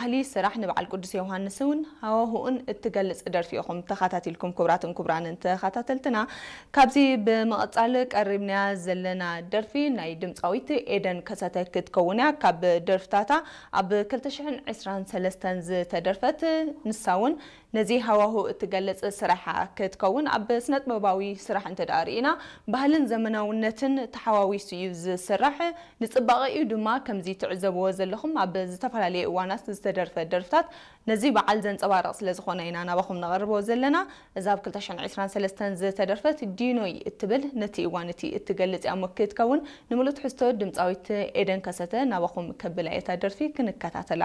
ባህሊ ስራሕ ንበዓል ቅዱስ ዮሃንስ እውን ሃዋሁኡን እትገልጽ ደርፊ ኢኹም ተኸታቲልኩም። ክቡራትን ክቡራንን ተኸታተልትና፣ ካብዚ ብምቕጻል ቀሪብናያ ዘለና ደርፊ ናይ ድምጻዊት ኤደን ከሰተ ክትከውን እያ። ካብ ደርፍታታ ኣብ ክልተ ሽሕን ዕስራን ሰለስተን ዝተደርፈት፣ ንሳ እውን ነዚ ሃዋሁ እትገልጽ ስራሓ ክትከውን፣ ኣብ ስነጥበባዊ ስራሕ እንተ ደኣ ርኢና፣ ባህልን ዘመናውነትን ተሓዋዊሱ እዩ ዝስራሕ። ንጽባቐኡ ድማ ከምዚ ትዕዘብዎ ዘለኹም ኣብ ዝተፈላለየ እዋናት ዝተደርፈ ደርፍታት ነዚ በዓል ዘንጸባርቕ ስለ ዝኾነ ኢና ናባኹም ነቐርቦ ዘለና። እዛ ኣብ ክልተ ሽሕን ዕስራን ሰለስተን ዝተደርፈት ዲኖይ እትብል ነቲ እዋን እቲ እትገልጽ እያ እሞ ክትከውን፣ ንምሉእ ትሕዝቶ ድምጻዊት ኤደን ከሰተ ናባኹም ከብላ እያ እታ ደርፊ፣ ክንከታተላ።